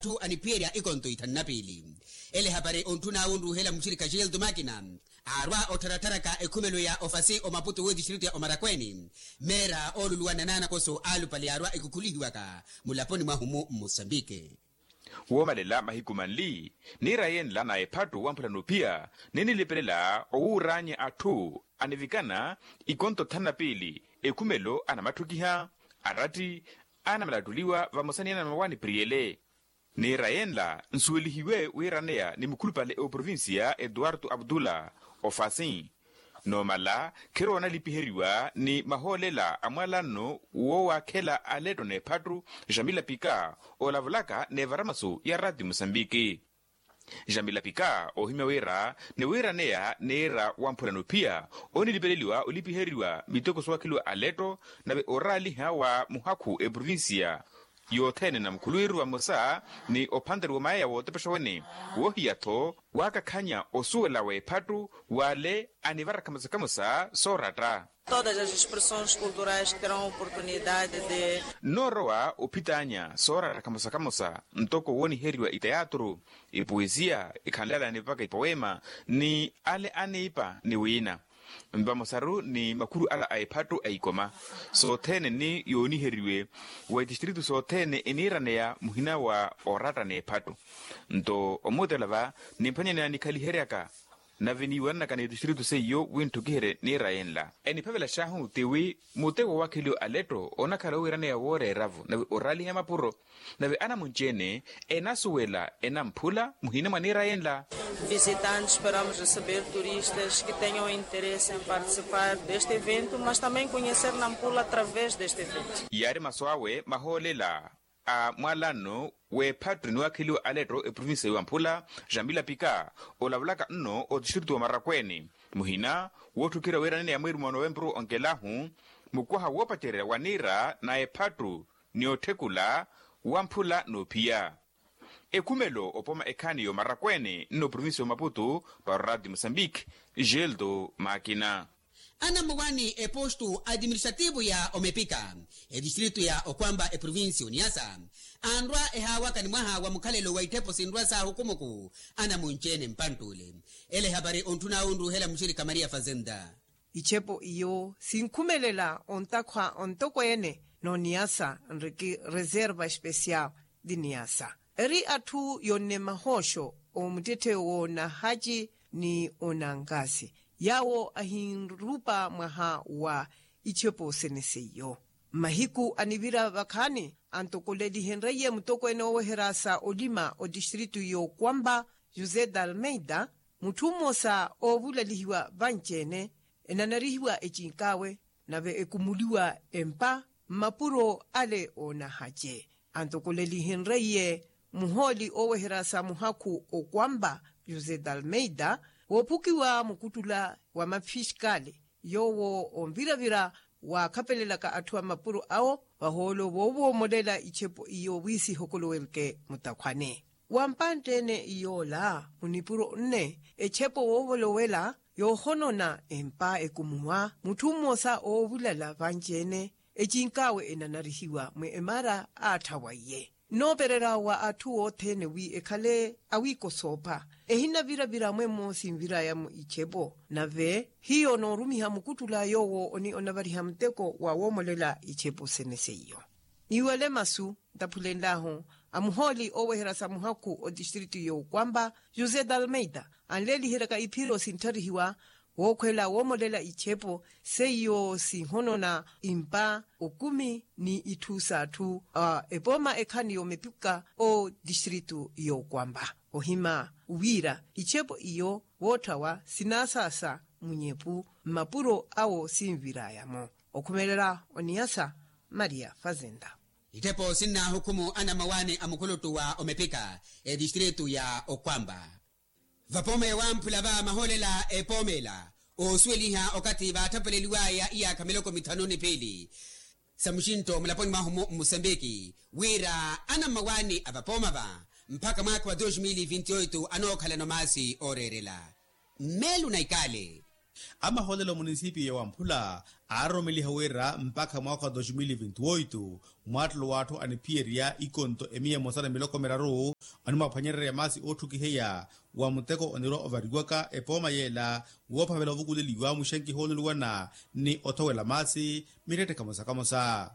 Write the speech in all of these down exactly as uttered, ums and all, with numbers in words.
atthu aniphiyerya ikonto ithanu na piili. Ele ehapari ontthun'awe onruuhela muxirikha gildo makina aarwa ottharatharaka ekhumelo ya ofasi omaputu w'etistiritu ya omarakweeni, meera ooluluwa na naanakoso alupale yaarwa ekukhulihiwaka mulaponi mwahu-mu mmusambike. Woomalela mahiku manli niira yenla na ephattu wamphula noophiya ninilipelela owuuraanya atthu anivikana ikonto thanu na piili ekhumelo anamatthukiha aratti anamalattuliwa vamosa ni anamawaani priyele. Niira yenla nsuwelihiwe wiiraneya ni mukhulupale oprovincia etuwartu abdula ofasi. Noomala khiroona lipiheriwa ni mahoolela a mwaalanno woowakhela aletto n'ephattu jamila pika olavulaka n'evaramasu ya rati musambiki. Jamila pika oohimya wira ni wiiraneya niira wamphula noophiya onilipeleliwa olipiheriwa miteko soowakheliwa aletto nave oraaliha wa muhakhu eprovincia yothene na mukhuluwiru vamosa ni ophanteriwa mayeya wootepexa wene woohiya-tho waakakhanya osuwela w'ephattu w'ale anivara khamosa khamosa sooratta. Todas as expressões culturais terão oportunidade de. Nnoorowa ophitaanya sooratta khamosa khamosa ntoko wooniheriwa iteyatru, ipoesia, ikhanlala ni mpakha ipoema ni ale aniipa ni wiina. Vamosaru ni makhuru ala a ephattu a ikoma sothene ni yooniheriwe wa itistritu sothene eniiraneya muhina wa oratta n'ephattu. Nto omuutelela va nimphwanyaneya nikhaliheryaka nave niiwananaka ni itistritu seiyo winttukiherye niira yenla eniphavelax'ahu ti wi muteko wakheliwa aletto onakhala owiiraneya wooreera-vo nave oraaliha mapuro. Nave anamunci-ene enasuwela enamphula muhina mwa niira yenla. Visitantes esperamos receber turistas que tenham interesse em participar deste evento mas também conhecer nampula através deste evento. Yaari masu awe mahoolela a mwaalanno w'ephattu niwaakheliwa aletto eprovincia yowamphula jamila pika olavulaka nno otistritu wa marakweeni muhina wootthukira wiiraneya mweeri mwa novempuru onkelahu mukwaha woopacererya wa niira na ephattu ni otthekula wamphula noophiya. Ekhumelo opooma ekhaani y'omarakweene nno provincia y'omaputu para orati mosambiki. Geldo makina. Anammawaani epostu administrativu ya omepika etistritu ya okwamba eprovincia oniyasa anrwa ehaawaka ni mwaha wa mukhalelo wa itthepo sinrwa saahukumuku anamunci-ene mpantt'ule. Ele ehapari ontthun'awe onruuhela muxirikha maria fazenda. Ichepo iyo sinkhumelela ontakhwa ontokweene n'oniyasa nriki reserva especial di niyasa eri atthu yonne mahooxo omuttetthe w'onahaci ni onankasi yaawo ahinrupa mwaha wa ichepo sene seiyo. Mmahiku anivira vakhaani antokolelihenreiye mutokweene ooweherasa olima otistritu y'okwamba josé d'almeida mutthu mmosa oovulalihiwa vanci-ene enanarihiwa ecinkaawe nave ekumuliwa empa mmapuro ale oonahace. Antokolelihenreiye muhooli ooweherasa muhakhu okwamba josé d'almeida woophukiwa mukuttula wa mafiskali yoowo onviravira waakhapelelaka atthu a mapuro awo vahoolo voovoomolela ichepo iyo wi sihokolowerke mutakhwane wa mpantte-ene iyoola munipuro nne echepo woovolowela yoohonona empa ekumuwa mutthu mmosa oovulala vanci-ene ecinkaawe enanarihiwa mwe emara aatthawa iye nnoopererya wa atthu othene wi ekhale awiikosoopha ehinavira-vira mwemmo sinviraya-mo ichepo nave hiyo noorumiha mukuttula yoowo oni onavariha muteko wa woomolela ichepo sene seiyo. Niiwale masu ntaphulenlahu a muhooli ooweherya sa muhakhu otistritu y'okwamba josé d'almeida anleeliheryaka iphiro sinttharihiwa wookhwela woomolela ichepo seiyo sinhonona impa okumi ni itthu s'atthu a epooma ekhaani y'omepuka otistritu y'okwamba ohima wira ichepo iyo wootthawa sinaasaasa munyepu mmapuro awo sinviraya-mo. Okhumelela oniyasa maria fazenda. Itthepo sinnaahukumu anammawaani a mukhuluttu wa omepika etistritu ya okwamba vapooma ya wamphula va mahoolela epoomela oosuweliha okathi vaatthappeleliwaya iyaakha miloko mithanu ni piili sa muxintto mulaponi mwahu-mu mmusambiki wira anammawaani a vapooma va mpakha mwaakha wa dos mil vinti oito anookhalana omaasi ooreerela mmeelu na ikaale. Amahoolelo munisipiyo ya wamphula aaroromeliha wira mpakha mwaakha wa dos mil vinti oito, mwaattelo w'atthu aniphiyerya ikonto emiya emosa na miloko miraru animwaaphwanyererya maasi ootthukiheya wa muteko onirwa ovariwaka epooma yeela woophavela ovukuleliwa muxankiho onuluwana ni othowela maasi mittetthe kamosa kamosa.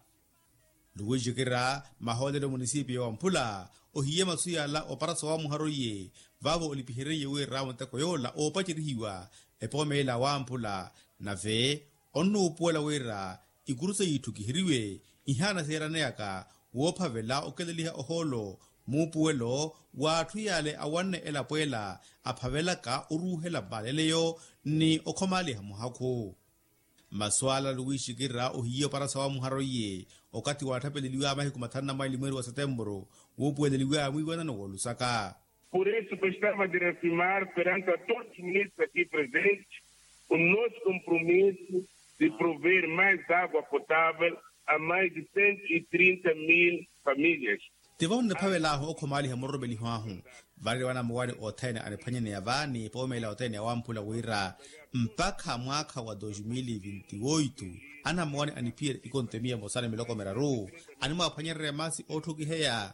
Luwixikira mahoolelo munisipiyo wa mphula ohiye masu yala oparaso wa muharo iye vaavo olipihereiye wira muteko yoola oopacerihiwa epooma ela wa mphula nave onnuupuwela wira ikurusa yiitthukiheriwe ihaana seeraneyaka woophavela okeleliha ohoolo muupuwelo w'atthu yale awanne elapo ela aphavelaka oruuhela mmaleleyo ni okhomaaliha muhakhu. Masu ala luwiixikira ohiye oparasa wa muharo iye okathi waatthapeleliwaya mahiku mathanu na maili mweeri wa setemburu wuupuweleliwaya mwiiwanano w'olusaka. Por isso gostava de reafirmar perante a todos os ministros aqui presentes o nosso compromisso de prover mais água potável a mais de cento e trinta mil famílias. Tivo nniphavel'ahu okhomaaliha muroromeliho ahu. Varerya wanamuwani othene aniphwanyaneya vaani poomela othene awamphula wira mpakha mwaakha wa dos mil vinti oito anamuwani aniphiyerya ikonto emiya emosa ni miloko miraru animwaaphwanyererya maasi ootthukiheya.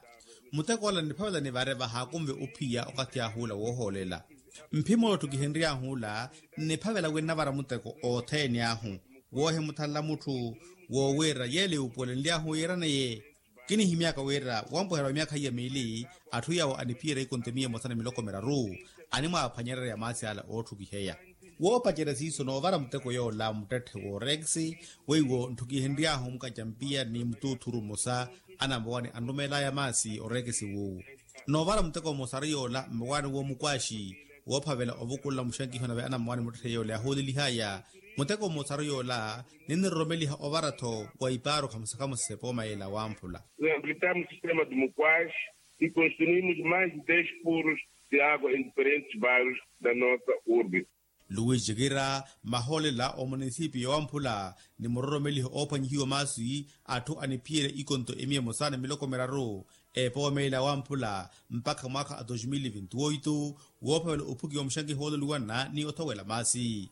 Muteko ola nniphavela nivare vahaakunve ophiya okathi ahu ola woohoolela. Mphimula otthukihenry'ahu ola nniphavela winnavara muteko othene ahu woohimuthanla mutthu woowira yeela yuupuwelenly'ahu yiiraneye. Kinihimyaka wira wampuherya wa myaakha iya miili atthu yawo aniphiyerya ikonto emiya emosa ni miloko miraru animwaaphwanyererya maasi ala ootthukiheya. Woopacerya siiso noovara muteko yoola muttetthe w'oreekisi weiwo ntthukihenry'ahu mukacampiya ni mutuuthuru mmosa anamowani anrumeel'aya maasi oreekisi wuuwu. Noovara muteko mmosa ari yoola mmowani w'omukwaaxi woophavela ovukulela muxankiho nave anamowani muttetthe yoola yaahoolelih'aya. Muteko mmosa ari yoola ninniroromeliha ovara-tho wa ipaaru khamosa khamosa epooma yeela wamphula. Reabilitamos sistema de mukwaaxi e construímos mais de dez furos de água em diferentes bairros da nossa urbe. Luwixikira mahoolela omunisipiyo wamphula ni muroromeliho oophwanyihiwa maasi atthu aniphiyerya ikonto emiya emosa ni miloko miraru epooma ela wamphula mpakha mwaakha a dos mil vinti oito woophavela ophukiwa muxankiho woololuwana ni othowela maasi.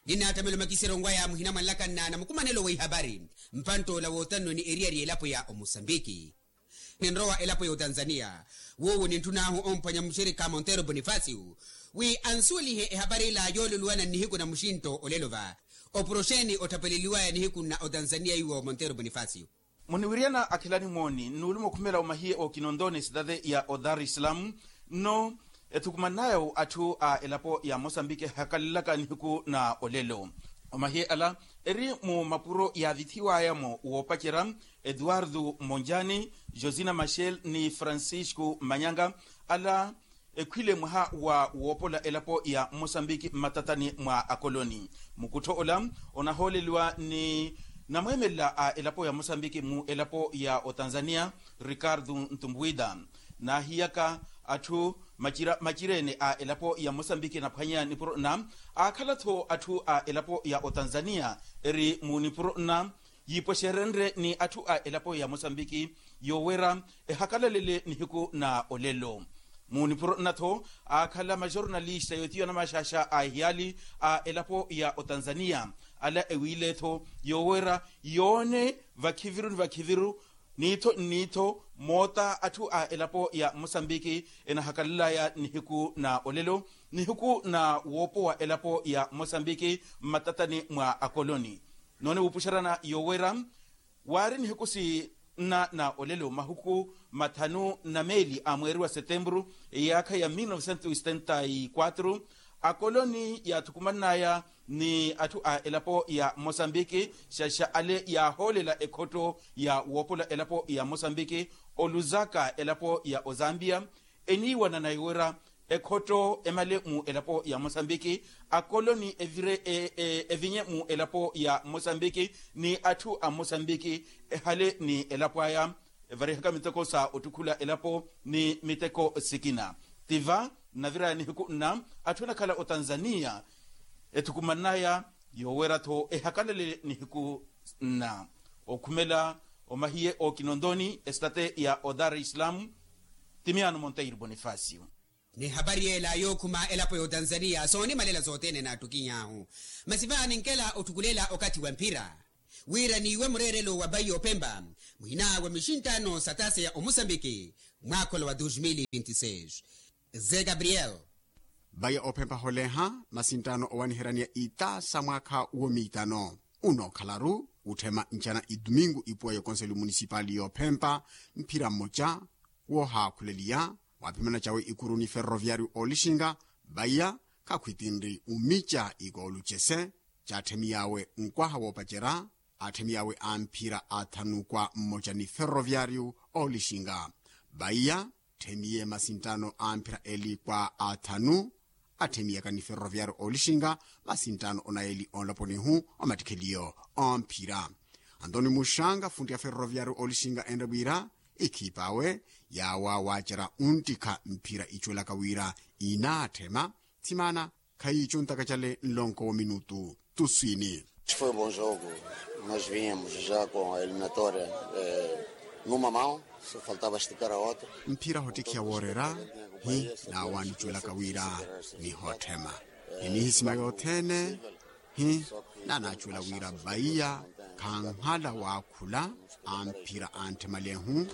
Ninaatamela omakiseryo onwaya muhina mwanlakanna na mukumanelo wa ihapari mpantt'ola wootannwe ni eriyari y'elapo ya omosambiki. Ninrowa elapo ya otanzaniya woowo nintthun'ahu omphwanya muxerikha montero bonifasio wi ansuwelihe ehapari ila yoololuwana nnihiku na muxintto olelo va. Oporoxeni otthapeleliwaya nihiku nna otanzaniya iwo montero bonifasio. Muniwiryana akhelani mooni nnuuluma okhumela omahiye okinonto ni sitati ya odar islam nno ethukumannaya atthu a elapo ya mosambiki ehakalelaka nihiku na olelo. Omahiye ala eri mu mapuro yaavithiwaya-mo woopacerya eduardo monjani, josina machel ni francisco manyanga. Ala ekhwile mwaha wa woopola elapo ya mosambiki mmatatani mwa akoloni. Mukuttho ola onahooleliwa ni namweemelela a elapo ya mosambiki mu elapo ya otanzaniya ricardo ntumbuida. Naahiyaka atthu macira macirene a elapo ya mosambiki enaphwanya nipuro nna aakhala-tho atthu a elapo ya otanzaniya eri mu nipuro nna yiipwexerenrye ni atthu a elapo ya mosambiki yoowera ehakalalele nihiku na olelo. Mu nipuro nna-tho aakhala majornalista yootiwa namaxaxa a ehiyaali a elapo ya otanzaniya ala ewiile-tho yoowera yoone vakhiviru ni vakhiviru niitho nniitho moota atthu a elapo ya mosambiki enahakalalaya nihiku na olelo nihiku na woopowa elapo ya mosambiki mmatatani mwa akoloni. Noone wuupuxeryana yoowera waari nihiku sinna na olelo mahuku mathanu na meeli a mweeri wa setempuru eyaakha ya mil novecentos e setenta e quatro akoloni yaathukumannaya ni atthu a elapo ya mosambiki xaxa ale yaahoolela ekhotto ya woopola elapo ya mosambiki oluzaka elapo ya ozambia eniiwanana yoowera ekhotto emale mu elapo ya mosambiki akoloni evire evinye mu elapo ya mosambiki ni atthu a mosambiki ehale ni elapo aya evarihaka miteko sa ottukhula elapo ni miteko sikina. Tiva nnaviraya nihiku nna atthu anakhala otanzaniya ethukumannaya yoowera-tho ehakalale nihiku nna okhumela omahiye okinontoni estate ya odar islam. Timiano monteiro bonifacio. N'ehapari ela yookhuma elapo y'otanzaniya soonimalela sothene naattukiny'ahu. Masi vaaha ninkela otthukulela okathi wa mphira wira niiwe mureerelo wa bayi y'ophempa muhina wa mixinttaano sa taasa ya omusambiki mwaakholo wa dos mil e vinte e seis. Ze gabriel. Bayi ya ophempa holeha masinttaano owaniheryaniya itaasa mwaakha womiitano unookhalaru utthema ncana itumingu ipuwa y'okonseli munisipali y'ophempa mphira mmoca woohaakhuleliya waaphimana cawe ikuru ni ferroviariu oolixinga. Vaiya khakhwitinri umica ikoolu cese caatthemiy'awe nkwaha woopacerya aatthemiy'awe a mphira athanu kwa mmoca ni ferroviariu oolixinga. Vaiya tthemiye masinttaano a mphira eli kwa athanu atthemiyaka ni ferroviariu oolixinga masinttaano onayeli onlaponihu omattikheliyo omphira. Antoni muxanga funtti ya ferroviariu oolixinga enre wira ikhiip'awe yaawa waacerya unttikha mphira icuwelaka wira inaatthema. Tthimana khayiicuntaka cale nlonko wa minutu tuswini. Foi um bom jogo. Nós vinhamos já com a eliminatória numa mão, só faltava esticar a outra. Mphira hottikhiya woorera hi naawaanicuwelaka wira nihootthema ni nihisima yothene hi naanaacuwela wira vaiya khanhala waakhula a mphira antthemalehu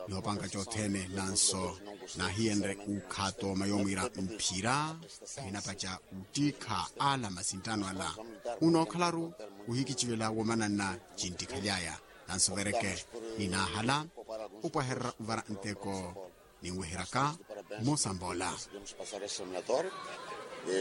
nihoopanka cothene nanso naahiyenre ukhato mayomwira mphira ahinapaca uttikha ala masinttaano ala unookhalaru uhikicivela womananna cinttikhaly'aya nanso vereke ninaahala upwahererya uvara nteko ninweheryaka mmosa mboola.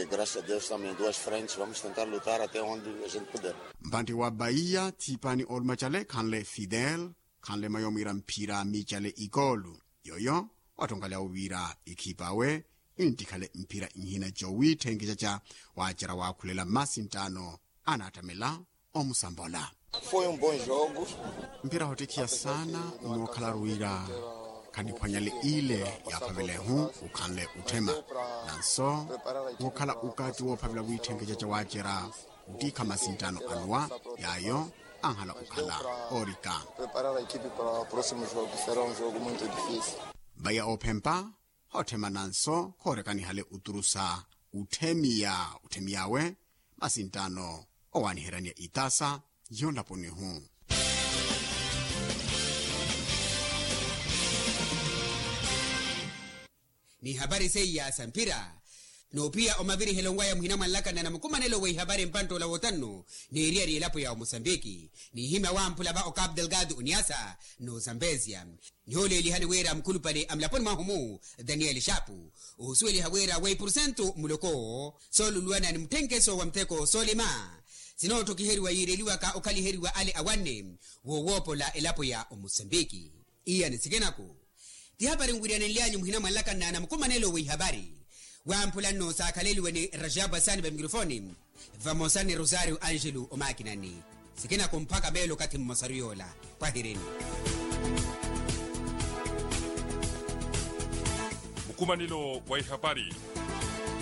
Graças a Deus estamos em duas frentes, vamos tentar lutar até onde a gente puder. Mpantti wa vaiya thiipani oolumacale khanle fidel khanle mayomwira mphira miicale ikoolu yooyo wattonkalyawo wira ikhiip'awe inttikhale mphira nhina cowiitthenkesyaca waacerya waakhulela mmasinttaano anaattamela omusambola. Foi um bom jogo. Mphira hottikhiya saana onookhala wira khaniphwanyale ile yaaphavelehu ukhanle utthema nanso wookhala ukaati woophavela wiitthenkeca ca waacerya uttikha masinttaano anuwa yaayo anhala okhala oorika. Preparar a equipe para o próximo jogo será um jogo muito difícil. Vaiya oophempa hootthema nanso khoorekanihale oturusa utthemiya otthemiy'awe masinttaano owaaniheryaniya itaasa yonlaponihu. N'ihapari seiya sa mphira noophiya omavirihelo nwaya muhina mwanlakana na mukumanelo w'ihapari mpanttoola wootannu n'eriyari elapo ya omosambiki n'ihimya wamphula va ocapu delgado oniasa n'ozambezia. Nihooleelihani wira mukhulupale a mulaponi mwahu-mu daniel xapu oosuweliha wira weipurusentu muloko sooluluwana ni mutthenkeso wa mutteko soolima sinootthokhiheriwa yiireliwaka okhaliheriwa ale awanne woowoopola elapo ya omosambiki. Iyani sikinaku tihapari nwiriyanenlyanyu muhina mwanlakana na mukumanelo w'ihapari wamphula nno saakhaleliwe ni rajabu asani va mikrofoni vamosa ni rosario angelo omakinani. Sikinaku mpakha meelo okathi mmosaru yoola pwahirini. Mukumanelo wa ihapari.